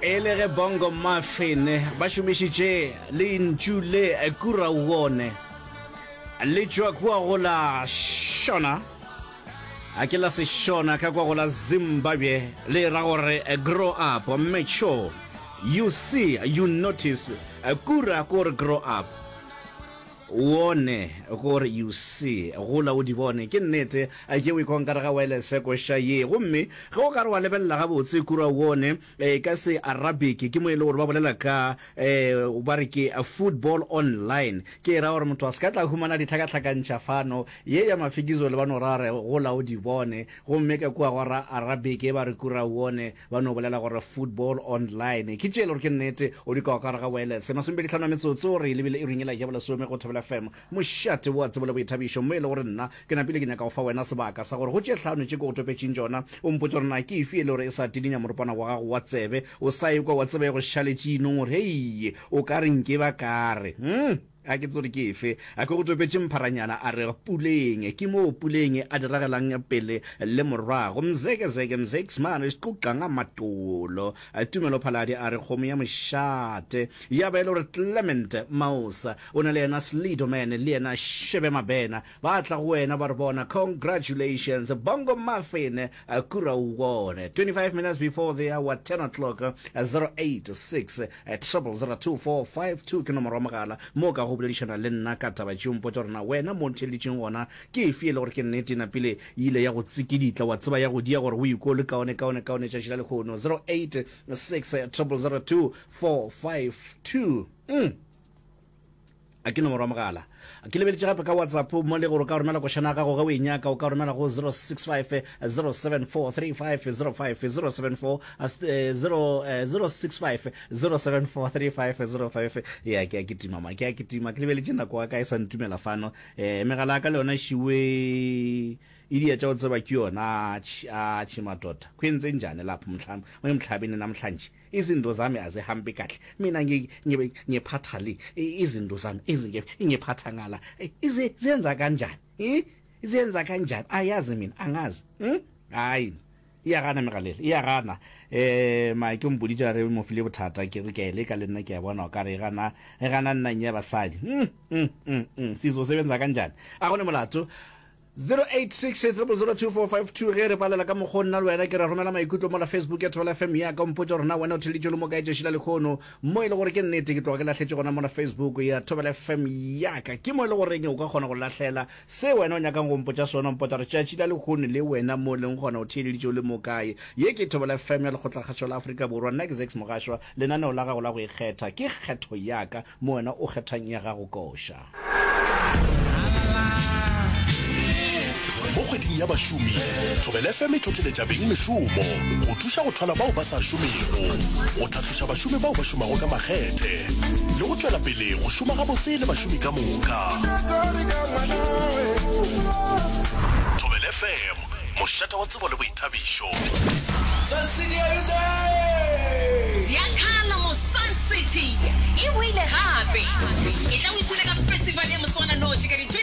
E le ge Bongo Muffin ba šomišitše lentšu le Kurauone le tšwa kua go la Shona, a ke la Seshona ka kua go la Zimbabwe, le ra gore grow up, mature, you see, you notice. Kura ke gore grow up. Wone gore you see, gola o di bone. Ke nnete, ke o ikwa nkare ga waelese koša ye. Gomme ge o ka re wa lebelela gabotse kura wone e, ka se Arabic, ke mo e le gore ba bolela ka, e, ba re ke football online. Ke e ra gore motho a se ka tla humana ditlhakatlhakantšha fano. Ye ya Mafikizolo ba no ra re gola o di bone. Gomme ka kua go ra Arabic ba re kura wone. Ba no bolela gore football online. Ke tše e le gore ke nnete, o di kwa ka gare ga wireless. Masomepedihlano a metsotso re lebile iring yela ya bolesome go Thobela FM, mošate wa tsebo le boithabišo, mo e le gore nna ke napile ke nyaka go fa wena sebaka sa gore go tše hlano tše ke go topetšeng tšona, o mpotše gore na ke efe e le gore e sa tidinya moropana wa gago wa tsebe, o sa ekwa wa tseba e go šaletše inong gore hei, o ka re nke ba ka re. Hmm. A ke tsore ke efe. A ke go topetše mpharanyana a re Puleng. Ke moo Puleng a di ragelang pele le morago. Mzekezeke Mzeks mane xiquqa nga matolo. Tumelo Phaladi a re kgomo ya mošate. Ya ba e le gore Clement Maosa o na le yena Slidoman le yena Shebe Mabena ba tla go wena ba re bona congratulations Bongo Muffin kura o bone. 25 minutes before the hour 10 o'clock 086 0002452 ke nomoro ya mogala mo o ka go boledišana le nna ka taba tšeo. Mpotša gore na wena mo o ntheeleditšeng gona ke efe e le gore ke nnete napile e ile ya go tsikiditla wa tseba ya go dia gore o ikwe o le kaone kaone kaone tšatši la lehono. 086 0002452. Mm. A ke nomoro ya mogala. Ke lebeletše gape ka WhatsApp mo le gore o ka romela košana ya gago ge o e nyaka, o ka romela go 065 074 3505 074 0 065 074 3505. Ya ke a kitima ma, ke a kitima. Ke lebeletše nako ya ka e sa ntumela fano. Eh megala ya ka le yona šiwe e dia tša go tseba ke yona. Atšhi atšhi madoda. Kwenze njani lapho mhla emhlabeni namhlanje? Izinto zami azihambi kahle mina ngiphatha le izinto zami ngiphatha ngala ziyenza kanjani ziyenza kanjani ayazi mina angazi hmm? hayi iyagana megalele iyagana eh ma ke mpoditše a re mo file bothata ke re ke a e leka le nna ke a bona o ka re e gana e gana nnang ya basadi mm, mm, mm, mm. sizosebenza kanjani a gone molato 086 000 2452 Ge re balela ka mokgwa o nna le wena ke re romela maikutlo mola Facebook ya Thobela FM ya ka o mpotša gore na wena o theleditše le mo kae tšatši la lehono mo e le gore ke nnete ke tloga ke lahletše gona mola Facebook ya Thobela FM ya ka ke mo e le goreng o ka kgona go lahlela se wena o nyakang go mpotša sona o mpotša gore tšatši la lehono le wena mo leng gona o theeleditše o le mo kae ye ke Thobela FM ya Lekgotlakgašo la Afrika Borwa nna ke Zakes Mogašwa lenaneo la gago la go ikgetha ke kgetho ya ka Mo wena o kgethang ya gago koša. Mo kgweding ya bašomi, Thobela FM e hlohleletša beng mešomo go thuša go thwala bao ba sa šomego, go tlhatloša bašomi bao ba šomago ka makgethe le go tšwela pele go šoma gabotse le bašomi ka moka. Thobela FM, mošate wa tsebo le boithabišo. Sun City are you there? Ziyakhala mo Sun City e boile gape! Etla o ipshine ka festival ya moswananoši ka di.